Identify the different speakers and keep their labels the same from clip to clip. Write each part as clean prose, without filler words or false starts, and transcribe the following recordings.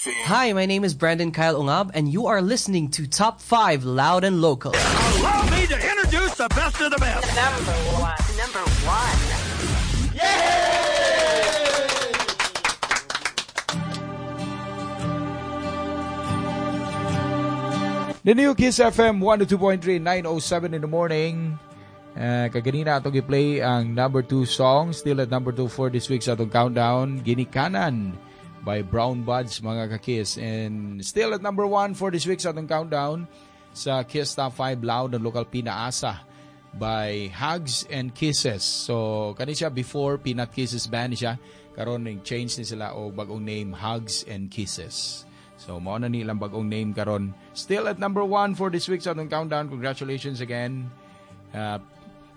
Speaker 1: Hi, my name is Brandon Kyle Ungab, and you are listening to Top 5 Loud and Local.
Speaker 2: Allow me to introduce the best of the best.
Speaker 3: Number one. Number one.
Speaker 4: The new Kiss FM 102.3, 9:07 in the morning. Kaganina atong i-play ang number 2 song, still at number 2 for this week sa atong countdown, "Ginikanan" by Brown Buds, mga ka-Kiss. And still at number 1 for this week sa atong countdown sa Kiss Top 5 Loud and Local, "Pinaasa" by Hugs and Kisses. So, kani siya before, Peanut Kisses Band siya. Karon change ni sila og bagong name, Hugs and Kisses. So, mao na ni ilang bagong name karon. Still at number 1 for this week sa atong countdown. Congratulations again.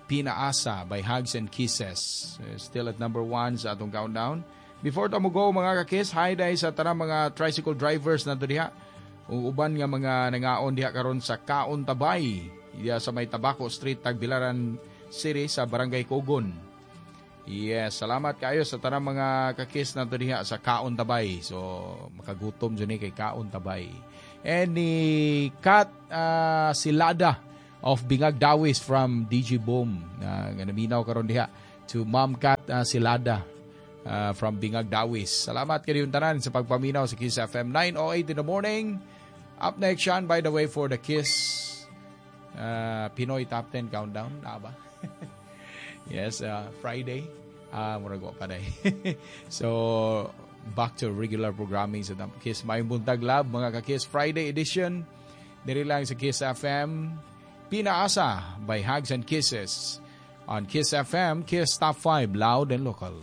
Speaker 4: "Pinaasa" by Hugs and Kisses. Still at number 1 sa atong countdown. Before ta mo go, mga kakis, hi dai sa tanang mga tricycle drivers na diha. Ug uban nga mga nangaon diha karon sa Kaon Tabay, diha sa may Tabaco Street, Tagbilaran City, sa Barangay Cogon. Yes, salamat kayo sa tanang mga kakis na diha sa Kaon Tabay. So, makagutom dyan kay Kaon Tabay. And ni Kat Silada of Bingag Dawis from DG Boom na nga naminaw karon diha, to Ma'am Kat Silada from Bingag Dawis. Salamat kayo tanan sa pagpaminaw sa Kiss FM, 9:08 in the morning. Up next, Sean, by the way, for the Kiss Pinoy Top 10 Countdown. Na ba? Yes, Friday. Murag wa pa day. So, back to regular programming sa Kiss. Maayong buntag, love, mga ka-Kiss, Friday edition. Diri lang sa Kiss FM. "Pinaasa" by Hugs and Kisses on Kiss FM, Kiss Top 5, Loud and Local.